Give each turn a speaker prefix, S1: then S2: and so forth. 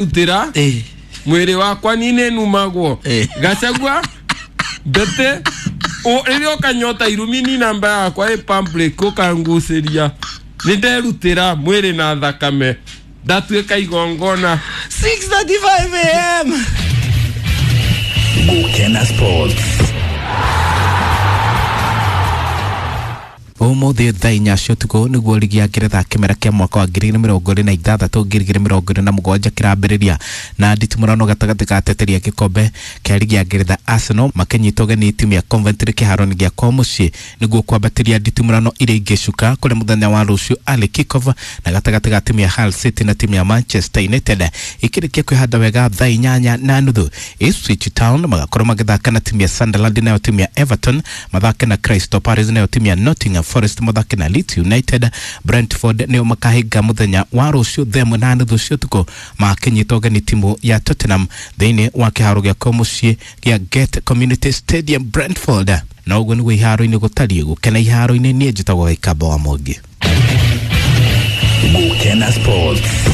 S1: Rutĩra mwĩrĩ wakwa ni numagwo. Gachagua mbete rĩrĩa ũkanyota irumi ni namba yakwa ĩ public ũkangucĩria. Nĩ nderutĩra mwĩrĩ na thakame, ndatuĩka igongona.
S2: 6:35 am.
S3: Gukena Sports.
S4: Umuthi thaa 4 cia ũtukũ nĩguo ligi ya Ngeretha kĩmera kĩa mwaka wa 2026 2027 kĩrambĩrĩria na nditimũrano gatagatĩ ga ateteri a gĩkombe kĩa ligi ya Ngeretha Arsenal makĩnyita ũgeni timu ya Coventry kĩharo-inĩ gĩa kwao mũciĩ nĩguo kwambatĩria nditimũrano iria ingĩ cuka kũrĩ mũthenya wa rũciũ Ali Kickoff na gatagatĩ ga timu ya Hull City na timu ya Manchester United ikĩrĩkia kwĩhanda wega thaa 8:30. Ipswich Town magakorwo magĩthaka na timu ya Sunderland, nayo timu ya Everton mathake na Crystal Palace, nayo timu ya Nottingham Forest mathake na Leeds United. Brentford nĩo makahinga mũthenya wa rũciũ thaa 1:30 cia ũtukũ makĩnyita ũgeni timu ya Tottenham thĩinĩ wa kĩharo gĩa kwao mũciĩ gĩa Gate Community Stadium, Brentford. Na ũguo nĩguo iharo-inĩ gũtariĩ. Gũkena iharo-inĩ, niĩ njĩtagwo Gĩkamba wa Mwangi.
S3: Gukena Sports.